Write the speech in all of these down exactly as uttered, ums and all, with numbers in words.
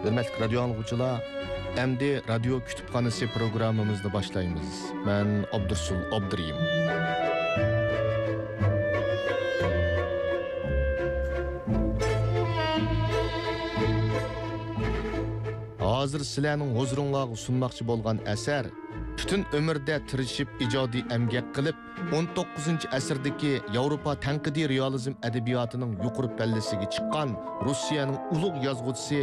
ھۆرمەتلىك رادىيو ئاڭلىغۇچىلار، ئەمدى رادىيو كۇتۇپخانىسى پروگراممىمىزنى باشلايمىز. مەن ئابدۇرسۇل ئابدۇرېھىم. ھازىر سىلەرنىڭ ھۇزۇرۇڭلارغا سۇنماقچى بولغان ئەسەر پۈتۈن ئۆمرىدە تىرىشىپ ئىجادىي ئەمگەك قىلىپ، ئون توققۇزىنچى ئەسىردىكى ياۋروپا تەنقىدىي رېئالىزم ئەدەبىياتىنىڭ يۇقىرى پەللىسىگە چىققان روسىيەنىڭ ئۇلۇغ يازغۇچىسى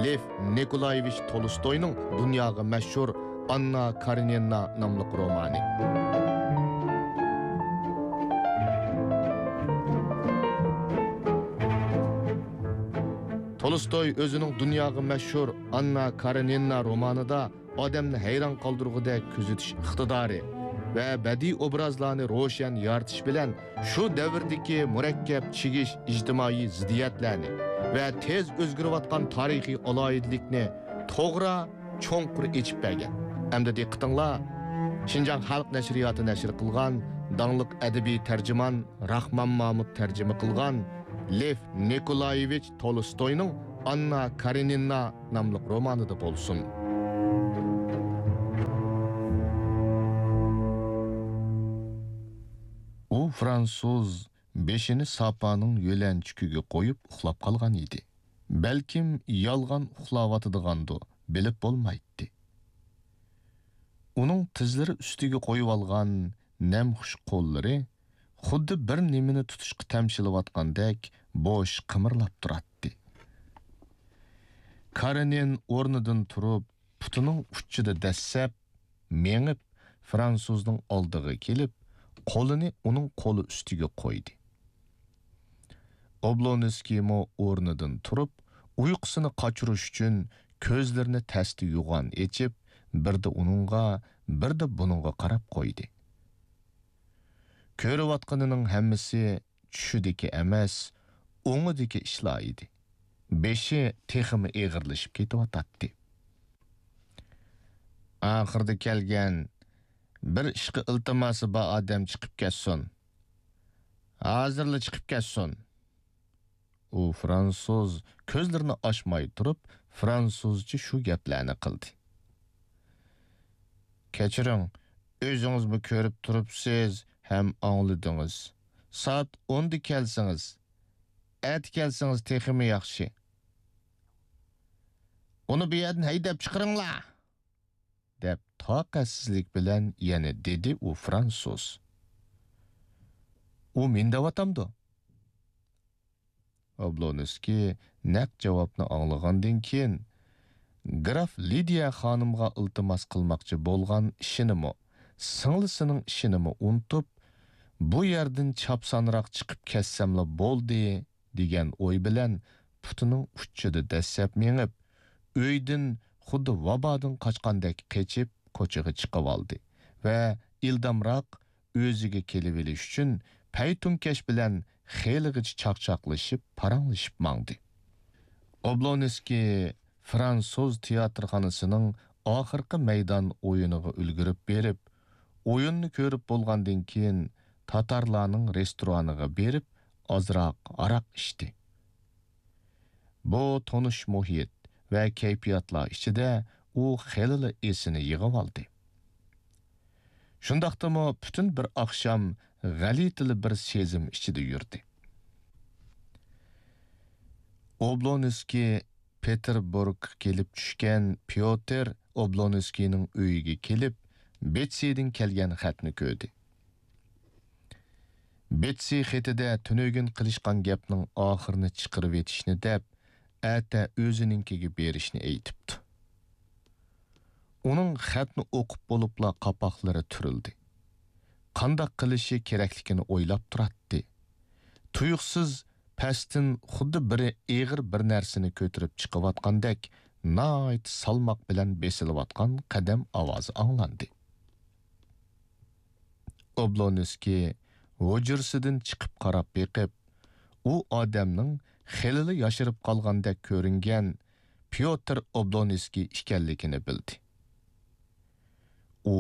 لېف نىكولايېۋىچ تولستوينىڭ دۇنياغا مەشھۇر ئاننا كارېنىنا ناملىق رومانى. تولستوي ئۆزىنىڭ دۇنياغا مەشھۇر ئاننا كارېنىنا رومانىدا ئادەمنى ھەيران قالدۇرغۇدەك كۆزىتىش ئىقتىدارى ۋە بەدىئىي ئوبرازلارنى روشەن يارىتىش بىلەن شۇ دەۋردىكى مۇرەككەپ چىگىش ئىجتىمائىي زىددىيەتلەرنى ۋە تېز ئۆزگىرىۋاتقان تارىخىي ئالاھىدىلىكنى توغرا، چوڭقۇر ئېچىپ بەرگەن. ئەمدى دىققىتىڭلار، شىنجاڭ خەلق نەشرىياتى نەشر قىلغان داڭلىق ئەدەبىي تەرجىمان راخمان مامۇت تەرجىمە قىلغان لېف نىكولايېۋىچ تولستوينىڭ ئاننا كارېنىنا ناملىق رومانىدا بولسۇن. ئۇ فرانسۇز بېشىنى ساپانىڭ يۆلەنچۈكىگە قويۇپ ئۇخلاپ قالغان ئىدى. بەلكىم يالغان ئۇخلاۋاتىدىغاندۇ، بىلىپ بولمايتتى. ئۇنىڭ تىزلىرى ئۈستىگە قويۇۋالغان نەمخۇش قوللىرى خۇددى بىر نېمىنى تۇتۇشقا تەمشىلىۋاتقاندەك بوش قىمىرلاپ تۇراتتى. كارېنىن ئورنىدىن تۇرۇپ، پۇتىنىڭ ئۇچىدا دەسسەپ مېڭىپ، فرانسۇزنىڭ ئالدىغا كېلىپ، قولىنى ئۇنىڭ قولى ئۈستىگە قويدى. ئوبلونسكىيمۇ ئورنىدىن تۇرۇپ، ئۇيقۇسىنى قاچۇرۇش ئۈچۈن كۆزلىرىنى تەستە يوغان ئېچىپ، بىردە ئۇنىڭغا، بىردە بۇنىڭغا قاراپ قويدى. كۆرۈۋاتقىنىنىڭ ھەممىسى چۈشىدىكى ئەمەس، ئوڭىدىكى ئىشلار ئىدى. بېشى تېخىمۇ ئېغىرلىشىپ كېتىۋاتاتتى. ئاخىرىدا كەلگەن، بىر ئىشقا ئىلتىماسى بار ئادەم چىقىپ كەتسۇن. ھازىرلا چىقىپ كەتسۇن. ئۇ فرانسۇز كۆزلىرىنى ئاچماي تۇرۇپ، فرانسۇزچە شۇ گەپلەرنى قىلدى. كەچۈرۈڭ، ئۆزىڭىزمۇ كۆرۈپ تۇرۇپسىز ھەم ئاڭلىدىڭىز. سائەت ئوندا كەلسىڭىز، ئەتە كەلسىڭىز تېخىمۇ ياخشى. ئۇنى بۇ يەردىن ھەيدەپ چىقىرىڭلار! دەپ تاقەتسىزلىك بىلەن يەنە دېدى ئۇ فرانسۇز. ئۇ مېنى دەۋاتامدۇ؟ ئوبلونسكىي نەق جاۋابنى ئاڭلىغاندىن كېيىن، گراف لىدىيە خانىمغا ئىلتىماس قىلماقچى بولغان ئىشىنىمۇ، سىڭلىسىنىڭ ئىشىنىمۇ ئۇنتۇپ، بۇ يەردىن چاپسانراق چىقىپ كەتسەملا بولدى، دېگەن ئوي بىلەن پۇتىنىڭ ئۇچىدا دەسسەپ مېڭىپ، ئۆيدىن خۇددى ۋابادىن قاچقاندەك قېچىپ، كوچىغا چىقىۋالدى ۋە ئىلدامراق ئۆزىگە كېلىۋېلىش ئۈچۈن پەيتۇنكەش بىلەن خېلىغىچە چاقچاقلىشىپ، پاراڭلىشىپ ماڭدى. ئوبلونسكىي فرانسۇز تىياتىرخانىسىنىڭ ئاخىرقى مەيدان ئويۇنىغا ئۈلگۈرۈپ بېرىپ، ئويۇننى كۆرۈپ بولغاندىن كېيىن، تاتارلارنىڭ رېستورانىغا بېرىپ، ئازراق ھاراق ئىچتى. بۇ تونۇش مۇھىت ۋە كەيپىياتلار ئىچىدە ئۇ خېلىلا ئېسىنى يىغىۋالدى. شۇنداقتىمۇ پۈتۈن بىر ئاخشام غەلىتىلا بىر سېزىم ئىچىدە يۈردى. ئوبلونسكىي پېتېربۇرگقا كېلىپ چۈشكەن پيوتىر ئوبلونسكىينىڭ ئۆيىگە كېلىپ، بېتسىدىن كەلگەن خەتنى كۆردى. بېتسى خېتىدە تۈنۈگۈن قىلىشقان گەپنىڭ ئاخىرىنى چىقىرىۋېتىشنى دەپ، ئەتە ئۆزىنىڭكىگە بېرىشنى ئېيتىپتۇ. ئۇنىڭ خەتنى ئوقۇپ بولۇپلا قاپاقلىرى تۈرۈلدى. قانداق قىلىشى كېرەكلىكىنى ئويلاپ تۇراتتى. تۇيۇقسىز پەستىن خۇددى بىرى ئېغىر بىر نەرسىنى كۆتۈرۈپ چىقىۋاتقاندەك ناھايىتى سالماق بىلەن بېسىلىۋاتقان قەدەم ئاۋازى ئاڭلاندى. ئوبلونسكىي ھۇجرىسىدىن چىقىپ قاراپ بېقىپ، ئۇ ئادەمنىڭ خېلىلا ياشىرىپ قالغاندەك كۆرۈنگەن پيوتىر ئوبلونسكىي ئىكەنلىكىنى بىلدى. ئۇ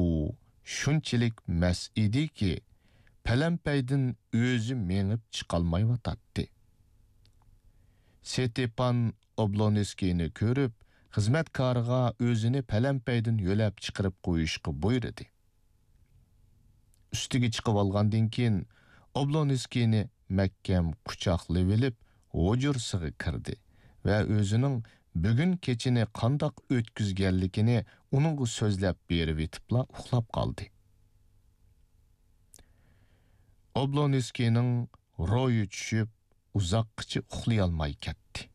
شۇنچىلىك مەست ئىدىكى، پەلەمپەيدىن ئۆزى مېڭىپ چىقالمايۋاتاتتى. ستېپان ئوبلونسكىينى كۆرۈپ، خىزمەتكارىغا ئۆزىنى پەلەمپەيدىن يۆلەپ چىقىرىپ قويۇشقا بۇيرۇدى. ئۈستىگە چىقىۋالغاندىن كېيىن، ئوبلونسكىينى مەھكەم قۇچاقلىۋېلىپ، ھۇجرىسىغا كىردى ۋە ئۆزىنىڭ بۈگۈن كېچىنى قانداق ئۆتكۈزگەنلىكىنى ئۇنىڭغا سۆزلەپ بېرىۋېتىپلا ئۇخلاپ قالدى. ئوبلونسكىينىڭ روھى چۈشۈپ، ئۇزاققىچە ئۇخلىيالماي كەتتى.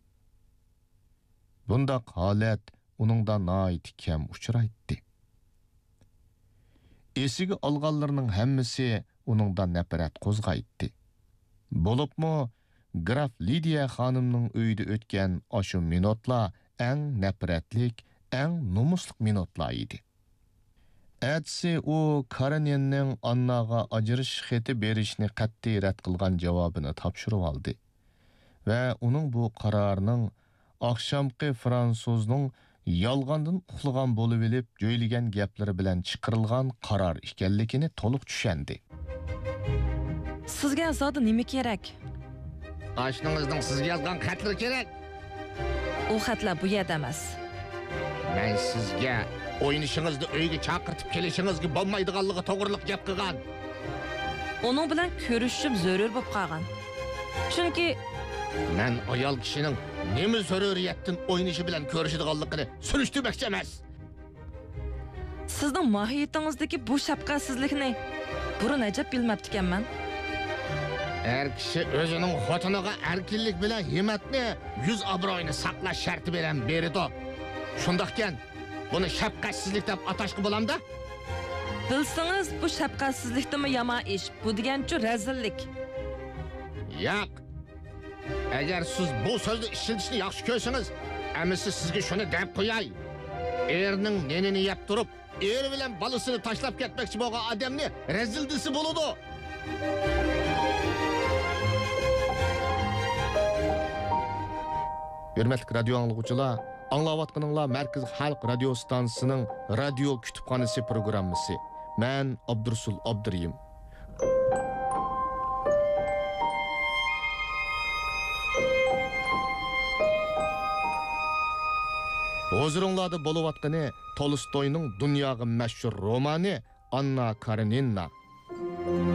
بۇنداق ھالەت ئۇنىڭدا ناھايىتى كەم ئۇچرايتتى. ئېسىگە ئالغانلىرىنىڭ ھەممىسى ئۇنىڭدا نەپرەت قوزغايتتى. بولۇپمۇ گراف لىدىيە خانىمنىڭ ئۆيىدە ئۆتكەن ئاشۇ مىنۇتلار ئەڭ نەپرەتلىك، ئەڭ نومۇسلۇق مىنۇتلار ئىدى. ئەتىسى ئۇ كارېنىننىڭ ئانناغا ئاجرىشىش خېتى بېرىشنى قەتئىي رەت قىلغان جاۋابىنى تاپشۇرۇۋالدى ۋە ئۇنىڭ بۇ قارارىنىڭ ئاخشامقى فرانسۇزنىڭ يالغاندىن ئۇخلىغان بولۇۋېلىپ جۆيلىگەن گەپلىرى بىلەن چىقىرىلغان قارار ئىكەنلىكىنى تولۇق چۈشەندى. سىزگە زادى نېمە كېرەك؟ ئاشنىڭىزنىڭ سىزگە يازغان خەتلىرى كېرەك. ئۇ خەتلەر بۇ يەردە ئەمەس. مەن سىزگە ئوينىشىڭىزنى ئۆيگە چاقىرتىپ كېلىشىڭىزگە بولمايدىغانلىقى توغرىلىق گەپ قىلغان. ئۇنىڭ بىلەن كۆرۈشۈشۈم زۆرۈر بولۇپ قالغان. چۈنكى مەن ئايال كىشىنىڭ نېمە زۆرۈرىيەتتىن ئوينىشى بىلەن كۆرۈشىدىغانلىقىنى سۈرۈشتۈرمەكچى ئەمەس. سىزنىڭ ماھىيىتىڭىزدىكى بۇ شەپقەتسىزلىكنى بۇرۇن ئەجەب بىلمەپتىكەنمەن. ئەر كىشى ئۆزىنىڭ خوتۇنىغا ئەركىنلىك بىلەن ھىممەتنى، يۈز ئابرۇيىنى ساقلاش شەرتى بىلەن بېرىدۇ. شۇنداقكەن، بۇنى شەپقەتسىزلىك دەپ ئاتاشقا بولامدا؟ بىلسىڭىز، بۇ شەپقەتسىزلىكتىنمۇ يامان ئىش. بۇ دېگەنچۇ رەزىللىك. ياق. ئەگەر سىز بۇ سۆزنى ئىشلىتىشنى ياخشى كۆرسىڭىز، ئەمىسە سىزگە شۇنى دەپ قوياي. ئېرىنىڭ نېنىنى يەپ تۇرۇپ، ئېرى بىلەن بالىسىنى تاشلاپ كەتمەكچى بولغان ئادەمنى رەزىل دېسە بولىدۇ. ھۆرمەتلىك رادىيو ئاڭلىغۇچىلار، ئاڭلاۋاتقىنىڭلار مەركىزىي خەلق رادىيو ئىستانسىسىنىڭ رادىيو كۇتۇپخانىسى پروگراممىسى. مەن ئابدۇرۇسۇل ئابدۇرېھىم. ھۇزۇرۇڭلاردا بولۇۋاتقىنى تولستوينىڭ دۇنياغا مەشھۇر رومانى ئاننا كارېنىنا.